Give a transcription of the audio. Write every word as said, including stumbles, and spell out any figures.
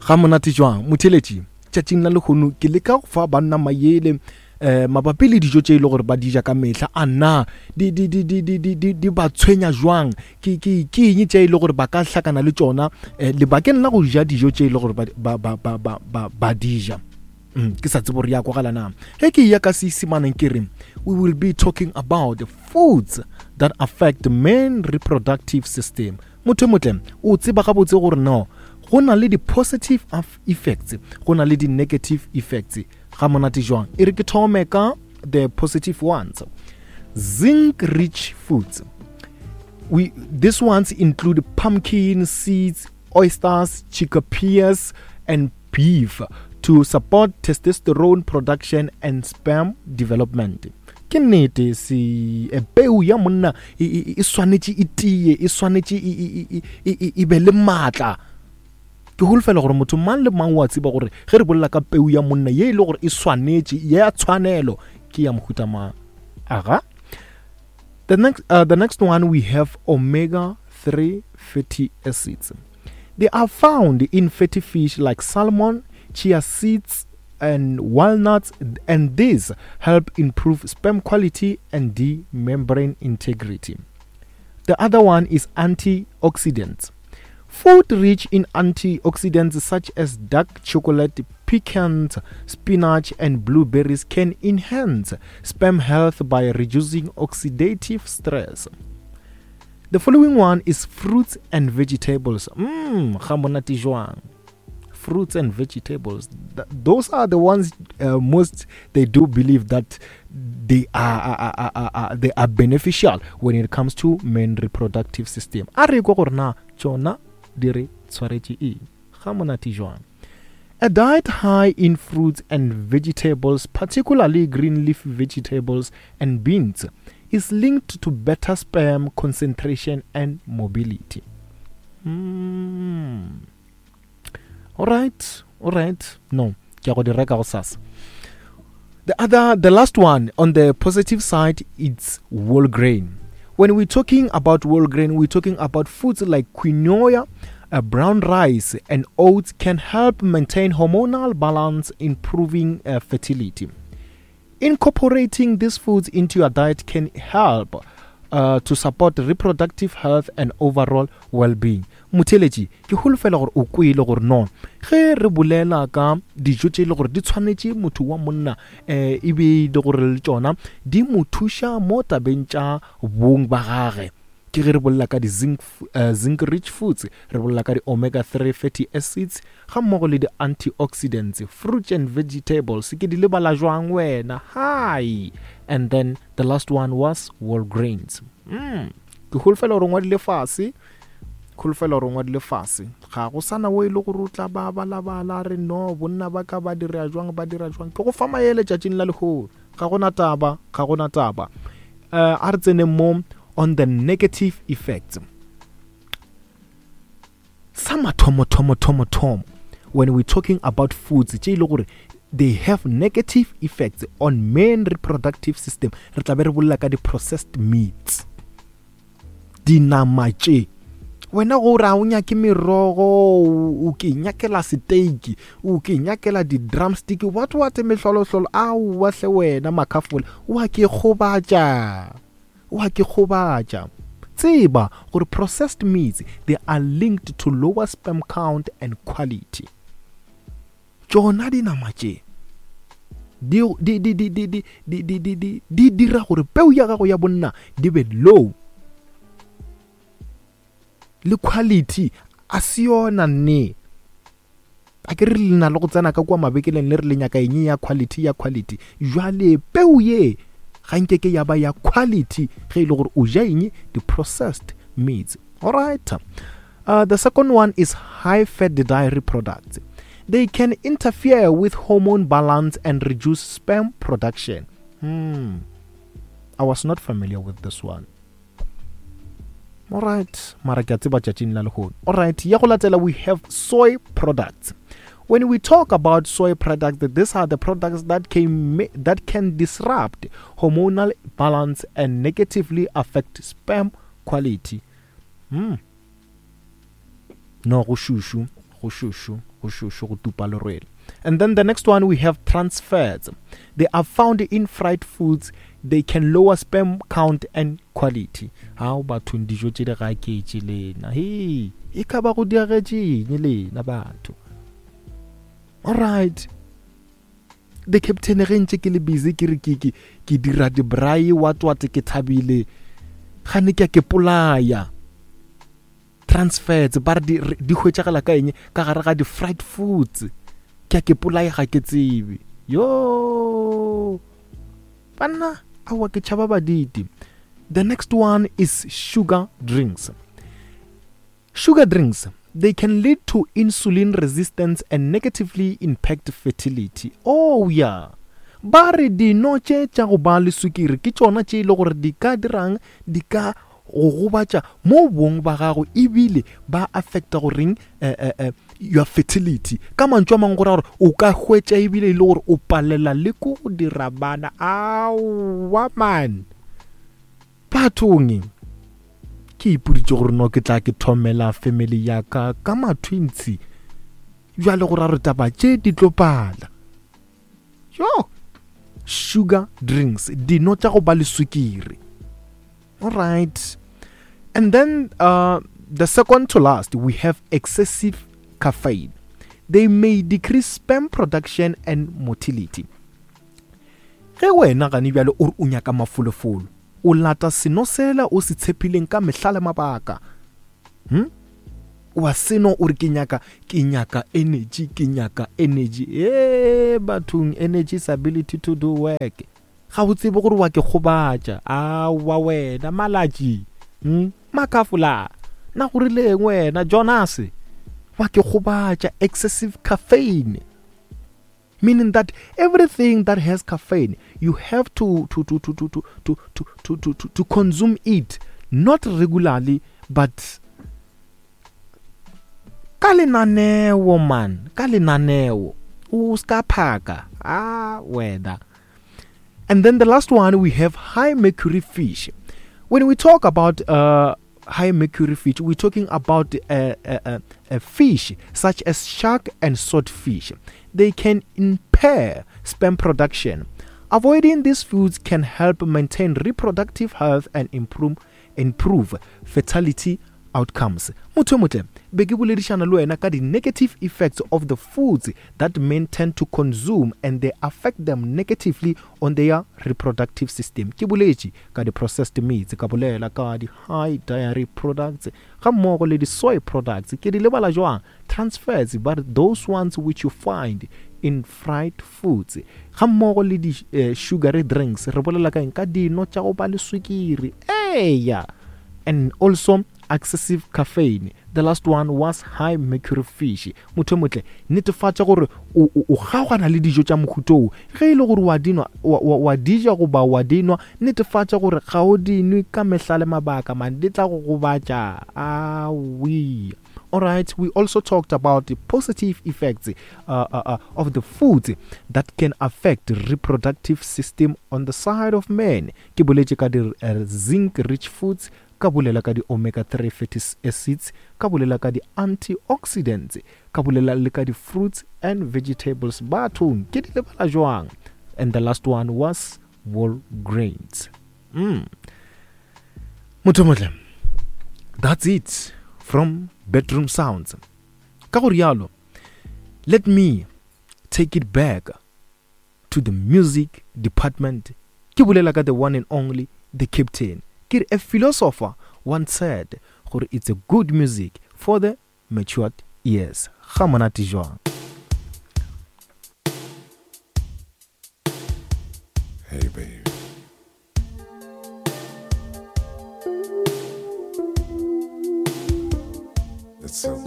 Ga monate jwang motheletši? Tšatšing la lehono ke leka go fa banna mayele um mabapi le dijo tše e le gore ba di ja ka mehla. A na di, di, di, di, di, di, di, di ba tshwenya jwang? Ke, ke, ke eng tše e le gore ba ka hlakana le tšona um lebakeng la go ja dijo tše e le gore ba, ba, ba, ba, ba, ba, ba di ja? Mm, ke sa tsebo gore ya kwagala na ge ke ya ka Seisemaneng ke re we will be talking about the foods that affect men reproductive system. Motho e motle o tseba gabotse gore no go na le di-positive effects, go na le di-negative effects. Ga monate jwang? E re ke thome ka the positive ones. Zinc rich foods, we these ones include pumpkin seeds, oysters, chickpeas and beef to support testosterone production and sperm development. Ke nnete se e, peu ya monna e, e, e swanetše e tie, e swanetše e be le maatla. Ke holofela gore motho mang le mang wa tseba gore ge re bolela ka peu ya monna ye e le gore e swanetše ya tshwanelo ke ya mohuta mang. Aga, the next, uh, the next one we have omega three fatty acids. They are found in fatty fish like salmon, chia seeds and walnuts, and these help improve sperm quality and the membrane integrity. The other one is antioxidants. Food rich in antioxidants such as dark chocolate, pecans, spinach and blueberries can enhance sperm health by reducing oxidative stress. The following one is fruits and vegetables. Mmm, ga monate jwang. Fruits and vegetables. Th- those are the ones uh, most they do believe that they are, are, are, are, are, they are beneficial when it comes to men reproductive system. A re kwa gore na tšona di re tshwaretše eng? Ga monate jwang. A diet high in fruits and vegetables, particularly green leaf vegetables and beans, is linked to better sperm concentration and mobility. Mm. All right, all right. No, ke a go di reka gosasa. The other, the last one on the positive side, it's whole grain. When we're talking about whole grain, we're talking about foods like quinoa, uh, brown rice, and oats can help maintain hormonal balance, improving uh, fertility. Incorporating these foods into your diet can help uh, to support reproductive health and overall well-being. Motheletši, ke holofela gore o kwele gore no ge re bolela ka dijo tše e le gore di tshwanetše motho wa monna um e be e le gore le tšona di mo thuša mo tabeng tša bong ba gage. Ke ge re bolela ka di-zinc, uh, zinc rich foods, re bolela ka di-omega three fatty acids ga mmogo le di-antioxidants, fruits and vegetables. Ke di lebala jwang wena? Hi. And then the last one was whole grains. Mm. Ke holofela gore o ngwadile fase, holofela gore o ngwadile fase. Ga go sana o e le gore o tla ba balabala re no bonna ba ka ba dira jwang, ba dira jwang. Ke go fa maele tšatšing la lehono. Ga gona taba, ga gona taba. Uh, a re tseneng mo on the negative effects. Sa mathomo, thomo, thomo, thomo, when we're talking about foods tše e le gore they have negative effects on men reproductive system, re tla be re bolela ka di-processed meats, dinama tše. Wena go re a o nyake merogo, o ke nyakela steak, o ke nyakela di-drumstick, what what mehlolohlolo, aowa hle wena makhafola, wa ke kgobatša, wa ke kgobatša. Tseba gore processed meats, they are linked to lower sperm count and quality. Tšona dinama tše di, di, di, di, di, di, di, di, di, di, di dira gore peu ya gago ya bonna di be low, le quality a se yona nne. A ke re le na le go tsena ka kua mabekeleng le re le nyaka eng ya quality, ya quality. Jwale peu ye ga nke ke ya ba ya quality ge e le gore o ja eng di-processed meats. All right. Uh, the second one is high fat dairy products. They can interfere with hormone balance and reduce sperm production. Hmm. I was not familiar with this one. All right. Mara ke a tseba tšatšing la lehono. All right. Ya go latela, we have soy products. When we talk about soy products, these are the products that can, that can disrupt hormonal balance and negatively affect sperm quality. Hmm. No, go šušu, go šušu, go Go šošo go tupa lerwele. And then the next one we have trans fats. They are found in fried foods. They can lower sperm count and quality. How bathong dijo tše di gaketše lena. Hey, e ka ba go diagetše eng lena batho? All right. The captain ge ntše ke le busy ke re ke ke ke dira di braai what what ke thabile. Gane ke a ke polaya. Trans fats ba re di, di hwetšagala ka eng? Ka gare ga di fried foods. Ke a ke polaya ga ke tsebe. Yo. Banna, awa ke tšhaba baditi. The next one is sugar drinks. Sugar drinks, they can lead to insulin resistance and negatively impact fertility. Oh yeah. Ba re dino tše tša go ba le sukiri ke tšona tše e le gore di ka dirang, di ka go gobatša mo bong ba gago ebile ba affecta goreng eh, eh, eh, your fertility. Ka mantšu a mangwe go ra gore o ka hwetša ebile e le gore o palela le ko go dira bana. Aowa man, bathong ke ipoditše gore no ke tla ke thomela family ya ka ka ma-twins. Bjale go ra re taba tše di tlo pala. Yo, sugar drinks, dino tša go ba le sukiri. All right. And then uh, the second to last, we have excessive caffeine. They may decrease sperm production and motility. Ge wena gane bjale o re o nyaka mafolofolo, o lata seno sela o se tshepileng ka mehla le mabaka. Hm? Wa seno o re ke nyaka, ke nyaka energy, ke nyaka energy. Eh, bathong, energy is ability to do work. Ga o tsebe gore wa ke gobatša. Aowa wena, Malatši. Hm? Makafola. Na go rileng wena, Jonas? Wa ke gobatša. Excessive caffeine. Meaning that everything that has caffeine, you have to, to, to, to, to, to, to, to, to, to, to, to consume it. Not regularly, but ka lenaneo, man. Ka lenaneo. O ska phaka. Ah, wena. And then the last one, we have high mercury fish. When we talk about, uh, high mercury fish, we're talking about, uh, uh, uh, a fish such as shark and swordfish. They can impair sperm production. Avoiding these foods can help maintain reproductive health and improve, improve fertility outcomes. Motho motle, be ke boledišana le wena ka di negative effects of the foods that men tend to consume and they affect them negatively on their reproductive system. Ke boletše ka di processed meats, ka bolela ka di high dairy products, ga mmogo le di soy products. Ke di lebala jwang? Trans fats, but those ones which you find in fried foods. Ga mmogo le di, eh, sugary drinks, re bolela ka eng? Ka dino tša go ba le swikiri. Eya. And also excessive caffeine. The last one was high mercury fish. Motho motle, netefatša gore o, o, o kgaogana le dijo tša mohuta wo. Ge e le gore wa dinwa, wa, wa, wa di ja goba wa dinwa, netefatša gore ga o di nwe ka mehla le mabaka, man, di tla go gobatša. Awi. All right, we also talked about the positive effects, uh, uh, uh, of the foods that can affect the reproductive system on the side of men. Ke boletše ka di, uh, zinc-rich foods, ka bolela ka di omega three fatty acids, ka bolela ka di antioxidants, ka bolela le ka di fruits and vegetables. Bathong, ke di lebala jwang? And the last one was whole grains. Mm. Motho motle, that's it from Bedroom Sounds. Ka go rialo, let me take it back to the music department. Ke bolela ka the one and only, the captain. Ke re, a philosopher once said gore it's a good music for the matured ears. Ga monate jwang? Hey baby. It's so